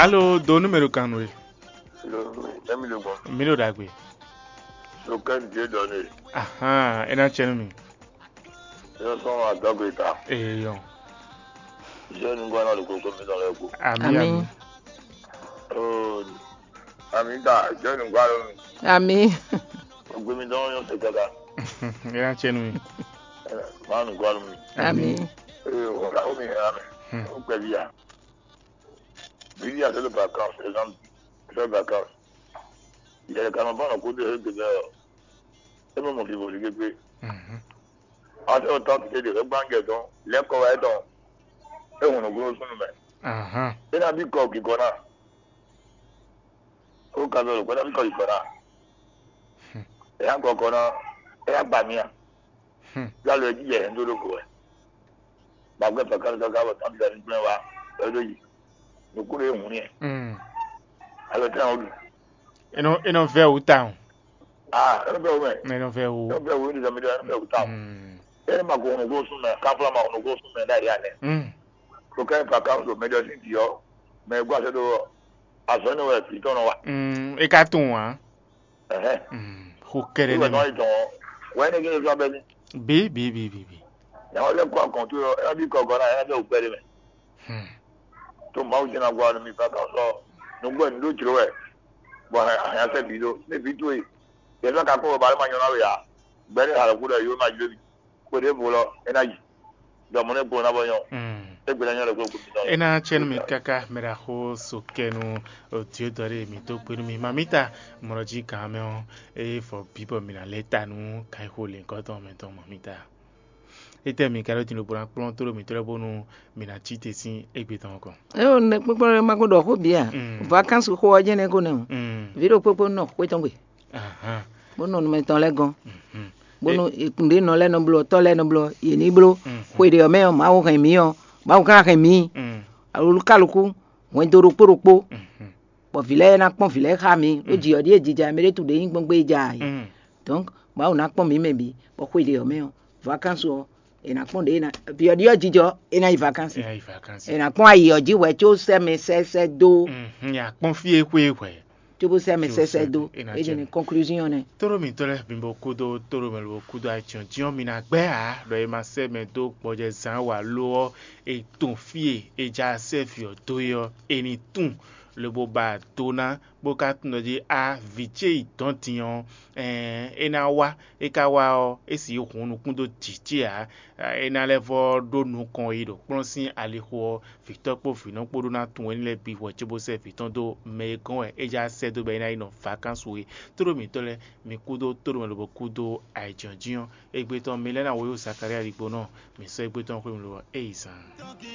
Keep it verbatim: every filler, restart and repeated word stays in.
Alo, do nú mɛ ɖo kan nú we. Lo, emi ɖo gbɔn. Mi ɖo ɖagbe. Lo kɛ n die dɔ ne. Ahan, e na cɛ nú mi. Yɔ sɔn adɔgbe ta. Eyɔn. Jɛ nu gɔna lo koko mi dɔ lɛ ko. Ami, ami. Oh, ami ta, jɛ nu gɔna lo mi. Ami. Ogbe mi dɔn yɔ se kaka. E na cɛ nú mi. Ma nu gɔna lo mi. Ami. Eh, o ka o mi ya mi. O kpɛ bi ya. Bíbí àti ló vacances, exemple, fẹ́ vacances. Ìyẹn kan máa bá ọ̀nà kó dé ẹgbẹ́ bẹ́ẹ̀ ọ́. É mọ̀ mọ̀ fi wòlíì gbégbé. Àti ọ̀tá ti kéde rẹ̀ gbáǹgẹ̀ tán, lẹ́kọ̀ọ́ wáyé tán. É hùn nùgbó súnú mẹ́. É ná bí kọ kíkọ náà. Ó ka bẹ̀rù pé ná bí kọ kíkọ náà. Ẹ yá kọkọ náà, ẹ yá gbà mí à. Yálò ẹ jíjẹ ẹ̀ ń dó dóko ẹ̀. Gbàgbé pẹ̀kẹ́ ní kaka bọ̀ tán ti ní gbẹ́ wa ẹ dó yìí. Nukúrò ehùn ni ẹ̀. Alɔ tẹ́ ẹ̀ wọ́n dùn. Inú inú fẹ́ wù táwọn. Ah, ẹ bẹ̀ wọ́n mẹ́. Inú fẹ́ wù. Ẹ bẹ̀ wọ́n ní sẹ́mi dẹ́ ẹ bẹ̀ wọ́n táwọn. Ẹ ní ma kó hùn kó sún mẹ́, káfíńlá ma hùn kó sún mẹ́ dáyà nẹ. Kò kẹ́ pàkà ń sọ mẹ́jọ sí ìdí ọ́. Mẹ́ gbọ́ àṣẹ tó wọ̀. Àṣọ ní wẹ̀ fi tọ́nà wa. E ka tunwun wa. Ɛhɛn. Xo kɛɖɛ Ìwé nɛmɛ. Náà ìtàn wọn. Wẹ́n ní kí ni sọ abẹ́ ní. Bi bi bi bi bi. Yàrá ọlẹ́ kọ́ àkàn tó yọ, ẹ bí kọ̀ọ̀kan náà, ẹ bẹ́ òpẹ́ dé mẹ́. Hmm. Tó máa ń jẹ́ náà gbọ́ àná mi fẹ́ kàn sọ. Nùgbọ́ ẹ̀ ní ló jùlọ wẹ̀. Bọ̀ àyàn sẹ́ bì dó. Ní bì tó yìí. Yẹ fẹ́ ka kó bàbá ma nyɔ̀nà wẹ̀ yá. Gbẹ́dẹ́ àlọ́ kúrò yóò má jẹ́ mi. Kó dé bò lọ, ẹ ná yìí. Dɔmɔ ne gblɔ na bɔ nyɔ. Hmm. Egbe na nyɔ le gbogbo. E na cɛ nú mi káká mɛ ɖaxó so kɛ nú odio dɔ ɖe mi dó gbe nú mi. Mamita mɔɖɔ jí gǎn mɛ ɔ́, eye fɔ bǐ bɔ mi ná lɛ́ ta nú kanxixo lěgɔ́ tɔn mɛ tɔn mamita. Étɛ́ mi ka ɖó din lobo ná kplɔ́n tóɖó mǐtɔn lɛ́ɛ bónú mi ná cí te sín égbé tɔn kɔn? É o nɛ kpɔ́kpɔ́ ɖé ma ko ɖɔ xó bǐ a? Mm. Vacances xó ɔ́ jɛ́n nɛ́ ko nɛ́ o. Mm. Vǐ ɖokpó kpó nɔ xwé tɔn gbe. Ahan. Bó nɔ nú mɛ tɔn lɛ́ɛ gɔ́n. Mhm. Bónú nǔɖé nɔ lɛ́ɛ nɔ bló ɔ́, tɔ́ lɛ́ɛ nɔ bló ɔ́, yě ní bló. Mhm. Xwe ɖě ɔ́ mɛ ɔ́, Mawu hɛn mǐ ɔ́, Mawu ka hɛn mǐ. Mm. Alukálukú, hwɛndo ɖokpó ɖokpó, Mhm. bɔ vǐ lɛ́ɛ ná kpɔ́n vǐ lɛ́ɛ xá mǐ. Ó Mm. jǐ ɔ́ ɖíe jija mɛ ɖé tu ɖě nyí gbɔn gbé ja ǎ. Mm. Donc, Mawu ná kpɔ́n mǐ mɛ bǐ, bɔ xwe ɖě ɔ́ mɛ ɔ́, vacances ɔ́, è nǎ kpɔ́n ɖě ná, vǐ ɔ́ ɖíe ɔ́ jijɔ, é ná yi vacances. É ná yi vacances. È nǎ kpɔ́n ayǐ ɔ́ jí hwɛ có sɛ́ mɛ sɛ́ sɛ́ dó. Mhm, ya kpɔ́n fí e xwe hwɛ. Cóbó sɛ́ mɛ sɛ́ sɛ́ dó. É ná É jɛ jɛ ní conclusion nɛ. Tóɖó mǐtɔn lɛ́ɛ mi bo kúdó tóɖó mɛ lobo kúdó ajɔ̌njɔ́n mi ná gbɛ́ ǎ, ɖɔ è ma sɛ́ mɛ dó gbɔjɛzán wa lo ɔ́, è tun fí e è ja sɛ́ vǐ ɔ́ dó é ɔ́, è ní tun lobo ba do ná, bó ka tunwun ɖɔ jí a vǐ ce yi dɔ̌n din ɔ́, ɛɛn, é ná wá. É ka wá ɔ́, é sixú hun nukún dó jǐ ce ǎ. É ná lɛ́ vɔ́ ɖó nukɔn yi ɖo kplɔ́n sín alixo ɔ́, vǐtɔ́ kpó vǐnɔ kpó ɖó ná tunwun éní lɛ́ɛ bǐ hwɛ cóbó sɛ́ vǐ tɔn dó mɛ e gɔ́n wɛ é já sɛ́ dó bɔ é ná yi nɔ vakansu é. Tóɖó mǐtɔn lɛ́ɛ, mi kúdó tóɖó mɛ lobo kúdó ayǐjínjɔ́n ɔ́, égbé tɔn mi lɛ́ ná wǒ yi Zakalía ɖigbó nɔ, mǐ sɔ́ égbé tɔn xwé mi lo ɔ́, é yi zan.